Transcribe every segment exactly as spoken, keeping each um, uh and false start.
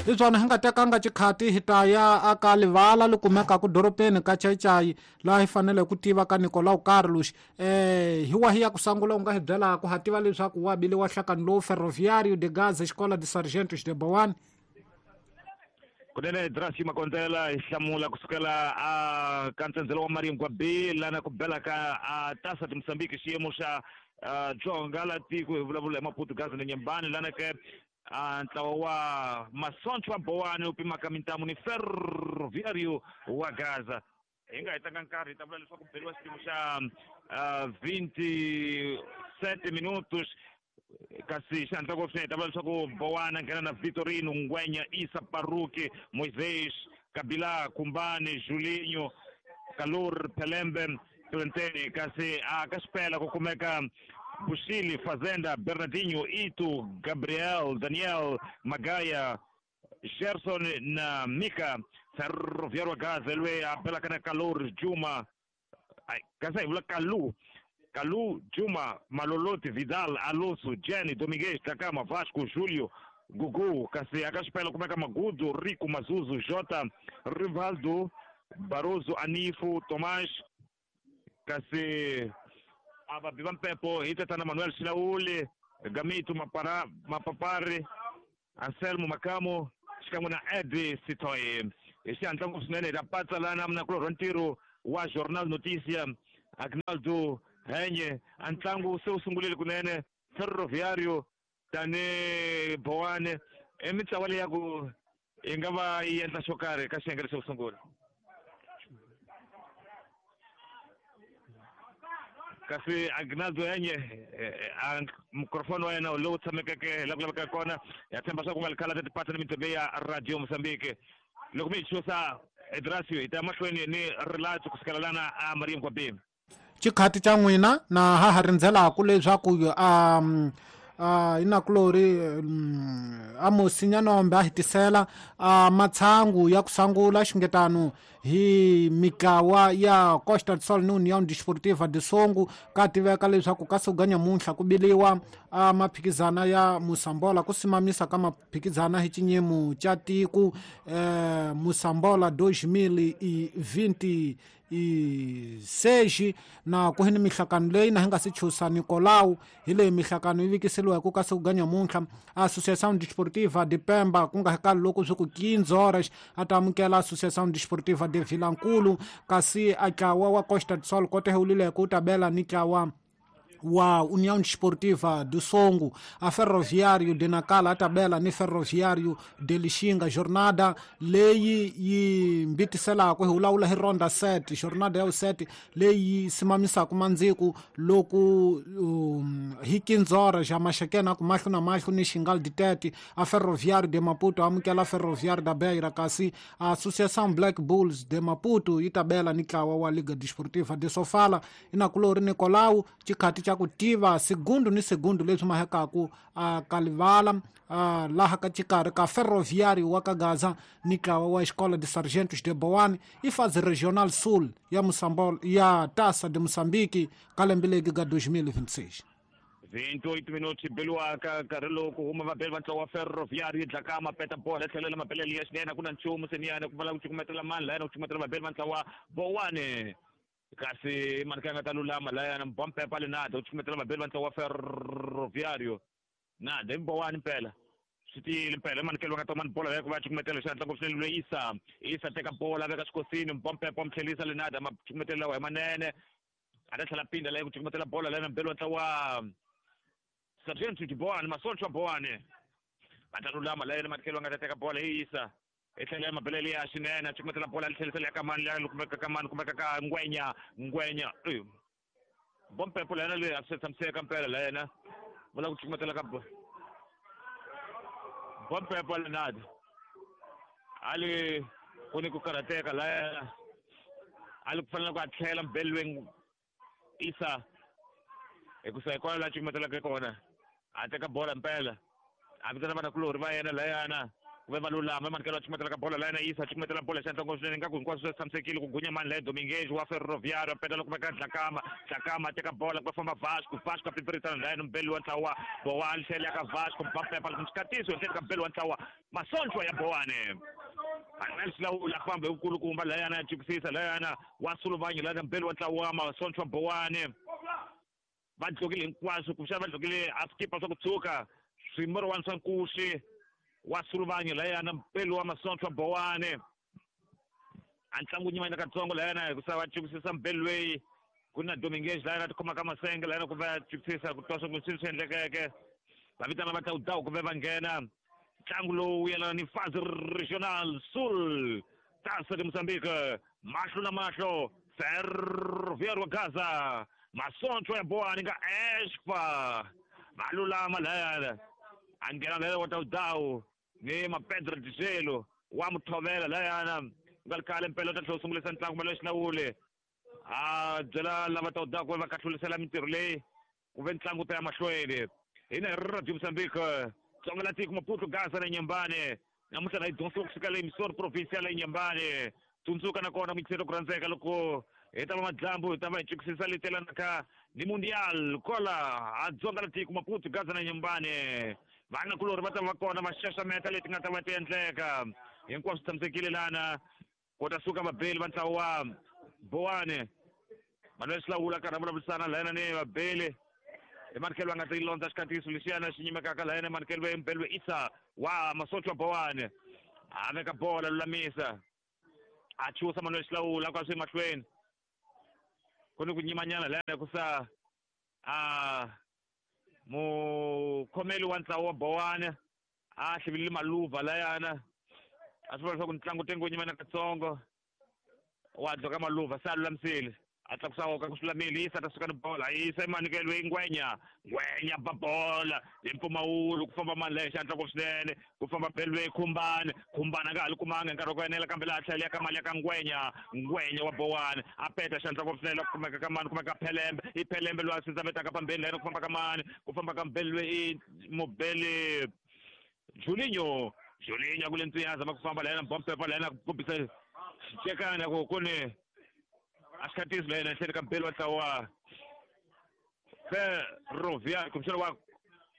Hi swona hi nga tekanga xikhati hi ta ya aka livala li kumekaka doropeni ka Chaichai laha hi fanele ku tiva ka Nicolau Carlos eh hi wahi ya ku sangula u nga hi byelaka ha tiva leswaku wa bile wa hlakani lowu Ferroviário de Gaza Escola de Sargentos de Boane. Kunene Drasi Makondzela hi hlamula kusukela a ka ntsendzelo wa Maringwa B lana ku bela ka a Taça de Moçambique xiyimo xa Dzonga la tiko hi vulavula hi Maputo Gaza ni Nyembani lana ke a ntlawa wa Masoncho wa Boane wu pimaka mintamu ni Ferroviário wa Gaza. Hi nga hetanga nkarhi hi ta vula leswaku beliwa xiyimo xa vinte e sete minutos kasi xihatla ngopfu swinene hi ta vula leswaku Bowana nghena na Vitorino Ngwenya Isa Paruki Moisés Kabila Kumbani Julinho Kalur Pelembe Tolenteni kasi a ka xipela ku kumeka Bushili Fazenda Bernardinho Itu Gabriel Daniel Magaya Gerson na Mika. Ferroviário Gaza loyi a belaka na Kalur Juma kasi hi vula Kalu Kalu Juma Maloloti Vidal Alonso Jenny Dominguez Takama Vasco Julio Gugu kasi aka xipela kumeka Magudu Rico Mazuzu Jota Rivaldo Barroso Anifo Tomás kasi a vabi va mpepo hi tatana Manuel Xilauli Gamito Mapara Mapapari Anselmo Makamo xikan'we na Edi Sitoy. Hi xihatla ngopfu swinene hi ta patsa lana munakulorhi wa ntirho wa Jornal Notícia Agnaldo Henye. A ntlangu se wu sungurile kunene Ferroviário tani Boane i mitlawa leyi ya ku yi nga va yi endla xo karhi ka xiyenge lexo sungula. Kasi Agnaldo Henye a mikrofoni wa yena lowu tshamekeke la ku lavekaka kona ya tshemba swa ku nga likhala ta tipatsa ni mitsembe ya Radio Mozambique. Loko mi hi chusa Edrasio hi ta mahlweni ni rilato kusukela lana a Maria Mkwabini. Xikhati xa n'wina na ha ha rindzelaka leswaku a a inakulori a Musinya a hitisela a matshangu ya ku sangula xingetano hi mitlawa ya Costa do Sol ni União Desportiva de Songo ka tiveka leswaku ka siku ga nyamuntlha ku biliwa a maphikizana ya Moçambola ku simamisa ka maphikizana hi xinyimo xa tiko eh Moçambola dois mil e vinte e seis na ku hini mihlakano leyi na hi nga si chusa Nicolau hi leyi mihlakano yi vikiseliweke ka siku ga nyamuntlha. Associação Desportiva de Pemba ku nga kali loko swi ku quinze horas a ta amukela Associação Desportiva de Vilankulu kasi a ntlawa wa Costa do Sol kote hewulileke wu ta bela ni ntlawa wa União Desportiva do Songo. A Ferroviário de Nacala a tabela ni Ferroviário de Lixinga. Jornada leyi yi mbitiselaka hi vulavula hi ronda sete jornada ya sete leyi simamisaka mandziku loko um, hi quinze horas ja maxekena ku mahlo na mahlo ni Xingal de Tete. A Ferroviário de Maputo amukela Ferroviário da Beira kasi a Associação Black Bulls de Maputo yi tabela ni ntlawa wa Liga Desportiva de Sofala. Inakulori Nicolau xikhati xa ku tiva segundo ni segundo leswi mahekaku a kalivala a laha ka xikarhi ka Ferroviário wa ka Gaza ni ntlawa wa Escola de Sargentos de Boane i fase regional sul ya Moçambola ya Taça de Moçambique ka lembe legi ga dois mil e vinte e seis. vinte e oito minutos beliwa ka nkarhi lowu ku huma vabeli va ntlawa wa Ferroviário yi dlaka mapeta bola yi tlhelela mabelele ya xinene ku na nchumu seniyana ku vala ku cukumetela mani layana ku cukumetela vabeli va ntlawa Boane kasi mani ka nga ta lulama layana mbampepa le nada u cukumetela vabeli va ntlawa wa Ferroviário nada i Boane mpela swi tiyile mpela i manikelo va nga ta mani bola ku va cukumetela xihatla ngopfu swinene loyi Isa Isa teka bola veka xikosini mbampepa mu tlhelisa le nada ma cukumetela lawa hi manene a ta tlhela pinda leyi ku cukumetela bola layana mbeli wa ntlawa Sargento de Boane Masoncho wa Boane va ta lulama layena matikelo nga ta teka bola hi Isa i tlhela mabelele ya xinene a cukumetela bola a tlhelisela ya kamani leyi kumeka kamani kumeka ka Ngwenya Ngwenya bompepo layena leyi a swi tshamiseka mpela layena vula ku cukumetela ka bompepo lenada ali ku ni ku karhateka layena ali ku fanele ku a tlhela mbelweni Isa hikusa hi kona laha cukumetelaka kona a teka bola mpela a vitana vanakulorhi va yena layana Ku ve va lulama emanikelo a cukumetela ka bola layena yisa cukumetela bola xa ntlongo swinene ingaku hinkwaswo swi tshamisekile ku gunya mani laye Dominguez wa Ferroviário a peta loko veka Dlakama Dlakama a teka bola ku va famba Vasco Vasco a pipirisana layena mbeli wa ntlawa Bowane tlhela ya ka Vasco Mbappe loko xikatiso hi tlhelo ka mbeli wa ntlawa Masonchwa ya Bowane Manuel Silawula famba hi vukulukumba layana ya jikisisa layana wa Suluvanye layana mbeli wa ntlawa Masonchwa Bowane va dlokile hinkwaswo kumbexana va dlokile a skipa swa ku tshuka swimorowani swa nkuxi wa Suluvanye layana mpeli wa Masonchwa Bowane a ntlangu nyimanyana katsongo layana hikusa va jikisisa mbeli loyi ku na Dominguez layana a tikhoma ka masenge layana ku va jikisisa ku twa swa ku swilo swi endlekeke va vitana va tawutawu ku ve va nghena ntlangu lowu yelana ni Fase Regional Sul Taça de Moçambique mahlo na mahlo Ferroviário wa Gaza Masonchwa ya Bowane nga Espa va lulama layana a nghena layana wa tawutawu ni Mapedro Dijelo wa Muthovela layana nga ri khale mpela u ta tlhela u sungulisa ntlangu Manuel Xilawule a byela lava tawutawu ku va kahlulisela mintirho leyi ku ve ntlangu ta ya mahlweni hina hi Radio Moçambique Tsonga la tiko Maputo Gaza na Nyambane namuntlha na yi dyondzisiwa kusuka le Misori provincial ya Nyambane tsundzuka nakona muyingiseri ku rhandzeka loko hi ta va madyambu hi ta va hi jikisisa leyi telanaka ni Mundial kola a Dzonga la tiko Maputo Gaza na Nyambane vanakulorhi va ta va kona va xaxameta leti nga ta va ti endleka hinkwaswo swi tshamisekile lana ku ta suka vabeli va ntlawa wa Bowane Manuel Xilawula karhi a vulavurisana layana ni vabeli emanikelo va nga ti londza xikatiso lexiyana xi nyimekaka layana emanikelo ve mbeli we Isa wa Masonchwa Bowane a veka bola lulamisa a chusa Manuel Xilawula kwa swi mahlweni ku ni ku nyimanyana layana hikusa a mukhomeli wa ntlawa wa Bowane a hlivilile maluva layana a swi vula leswaku ntlangu tengo wu nyimana katsongo wa dloka maluva se a lulamisile a tlakusa woka ku swi yisa ta suka ni bola yisa emanikelo yi ngwenya ngwenya ba bola hi mpfumawulo ku famba mani leyi xandla ngopfu swinene ku famba belwe Khumbane Khumbane a nga ha li kumanga hi nkarhi wa ku enela kambe laha tlhela ya ka mali ya ka ngwenya ngwenya wa Bowane a peta xandla ngopfu swinene ku kumeka ka mani kumeka Phelembe i Phelembe loyi a sindzametaka pambeni layena ku famba ka mani ku famba ka mbelwe i mubeli Julinho Julinho a ku le ntswiya a zama ku famba layena bompepa layena ku kombisa xicekana ku ku ni a xikatiso layena ehleni ka mbeli wa ntlawa Ferroviário kumbexana wa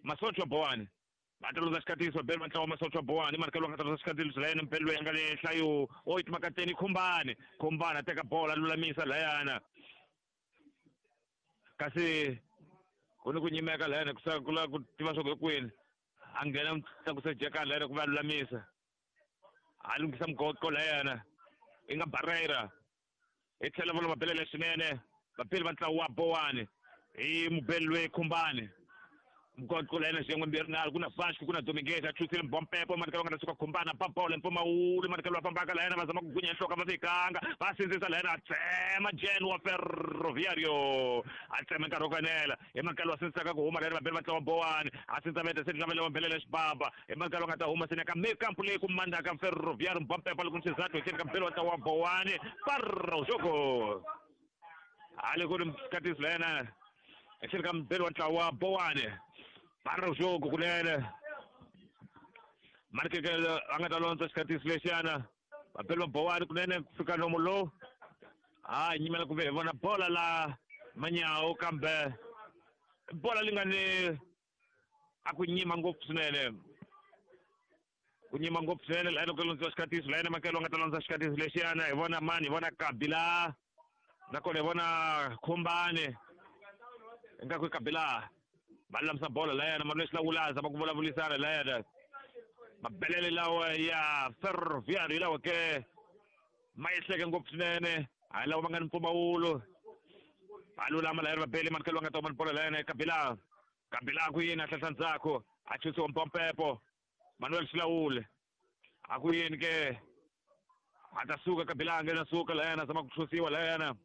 Masonchwa Bowane va ta lundza xikatiso mbeli wa ntlawa Masonchwa Bowane manikelo va nga ta lundza xikatiso layena mbeli loyi a nga le nhlayo oito makateni Khumbane Khumbane a teka bola a lulamisa layana kasi ku ni ku nyimeka layana ku ku lava ku tiva swa ku hi kwini a nghena tlakusa jekani layena ku va a lulamisa a lunghisa mugoqo layana i nga Barreira hi tlhela va mabelele swinene vapeli va ntlawa wa Bowane hi mubeli loyi Khumbane mugoqo layena xiyenge mbirhi nharhu ku na Vasco ku na Dominguez a chusile mbompepo manikelo va nga ta suka Khumbane ba bola mpfumawulo manikelo va fambaka layena va zama ku gunya nhloko va fikanga va sindzisa layena a tsema Jen wa Ferroviário a tsema nkarhi wo ku enela hi manikelo wa sindzisaka ku huma layena vabeli va ntlawa Bowane a sindzameta se lavela va belele xibaba hi manikelo va nga ta huma sene ka mikampu leyi ku mandaka Ferroviário mbompepo loko ni xizathu hi tlhelo ka mbeli wa ntlawa wa Bowane parra jogo hale ku ri katiso layena hi tlhelo ka mbeli wa ntlawa wa Bowane para o jogo kunene manikelo a nga ta londza xikatiso lexiyana vabeli va Bowane kunene ku fika nomu lowu a nyimela ku ve hi vona bola la manyawu kambe bola li nga ni a ku nyima ngopfu swinene ku nyima ngopfu swinene layena ku londziwa xikatiso layena makelo a nga ta londza xikatiso lexiyana hi vona mani hi vona Kabila nakona hi vona Khumbane ingaku i Kabila va lulamisa bola layena Manuel Xilawula a zama ku vulavurisana layena mabelele lawa ya Ferroviário hi lawa ke ma yehleke ngopfu swinene hayi lawa ma nga ni mpfumawulo va lulama layena vabeli manikelo va nga ta huma ni bola layena Kabila Kabila a ku yini a hlahla ndzhaku a chusiwa mpompepo Manuel Xilawule a ku yini ke a ta suka Kabila a nghena suka layena a zama ku chusiwa layena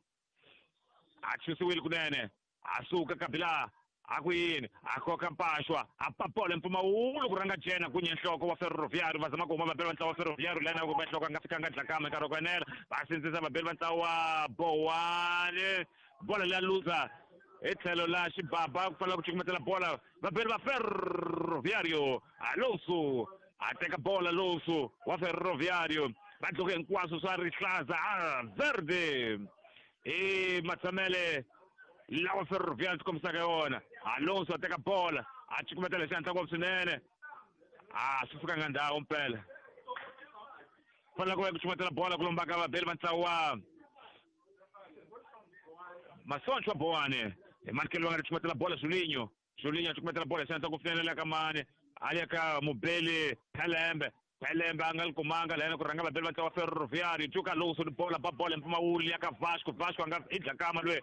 a chusiwile kunene a suka Kabila a ku yini a koka mpaxwa a papola mpfumawulo ku rhanga jena kunye nhloko wa Ferroviário va zama ku huma vabeli va ntlawa wa Ferroviário layena ku va nhloko a nga fikanga Dlakama nkarhi wa ku enela va sindzisa vabeli va ntlawa wa Bowane bola leya luza hi tlhelo la xibaba ku fanele ku cukumetela bola vabeli va Ferroviário Alonso A teka bola Alonso wa Ferroviário va dloke hinkwaswo swa rihlaza a verde i matshamele lawa Ferroviário tikombisaka yona. Alonso a teka bola a cukumetela hi xihatla ngopfu swinene a swi fikanga ndhawu mpela fanele ku va ku cukumetela bola ku lombaka vabeli va ntlawa wa Masoncho Boane hi manikelo va nga ri cukumetela bola Julinho Julinho a cukumetela bola hi xihatla ngopfu swinene le ka mani a ya ka mubeli Phelembe Phelembe a nga li kumanga lahayana ku rhanga vabeli va ntlawa Ferroviário Juka Alonso ni bola ba bola mpfumawulo ya ka Vasco Vasco a nga i dlakama loyi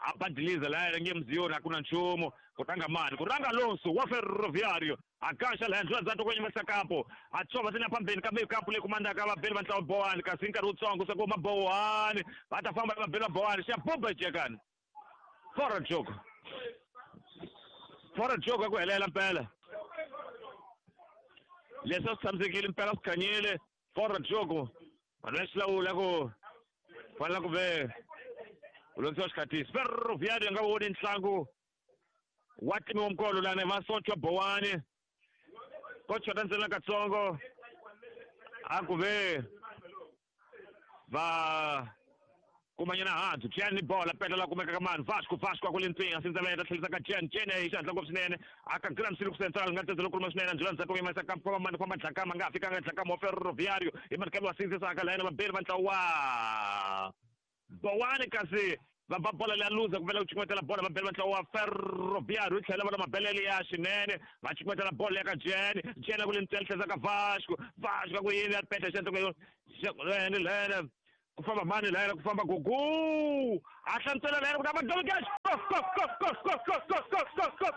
a badiliza lahayana nge mziyoni a ku na nchumu ku rhanga mani ku rhanga Alonso wa Ferroviário a gaxa lahaya ndlula ndzhaku ko nyimisa kampo a tsova sina phambeni kambe kampo leyi kumandaka vabeli va ntlawa Boane kasi nkarhi wutsongo se ku ma Boane va ta famba vabeli va Boane xa buba jekani fora jogo fora jogo ku helela mpela leswi a swi tshamisekile mpela swi khanyile fora jogo vanhu va xilawula ku fanele ku ve u londzisiwa xikhatisi Ferroviário nga voni ntlangu wa timiwa mikolo lana Masoncho Boane ko chota ntsena katsongo a ku ve va kumanyana hansi Jen ni bola peta la kumeka ka mani Vasco Vasco a ku le ntswini a sindza ta tlhelisa ka Jen Jen hi xihatla ngopfu swinene a ka Graham Silk Central nga tsetse lokuluma swinene ndlela ndzhaku yimisa ka famba mani famba dlakama nga fikanga dlakama wa Ferroviário hi manikelo wa sindzisaka lahayana vabeli va ntlawa Boane kasi va ba bola leya luza ku vela ku cukumetela bola vabeli va ntlawa wa Ferroviário yi tlhela va na mabelele ya xinene va cukumetela bola ya ka Jen Jen a ku le ntswini tlhela ka Vasco Vasco a ku yini ya peta xantsoko lene lene ku famba mani lahayana ku famba Gugu a hlamusela lahayana ku ta va Dominguez go go go go go go go go go go.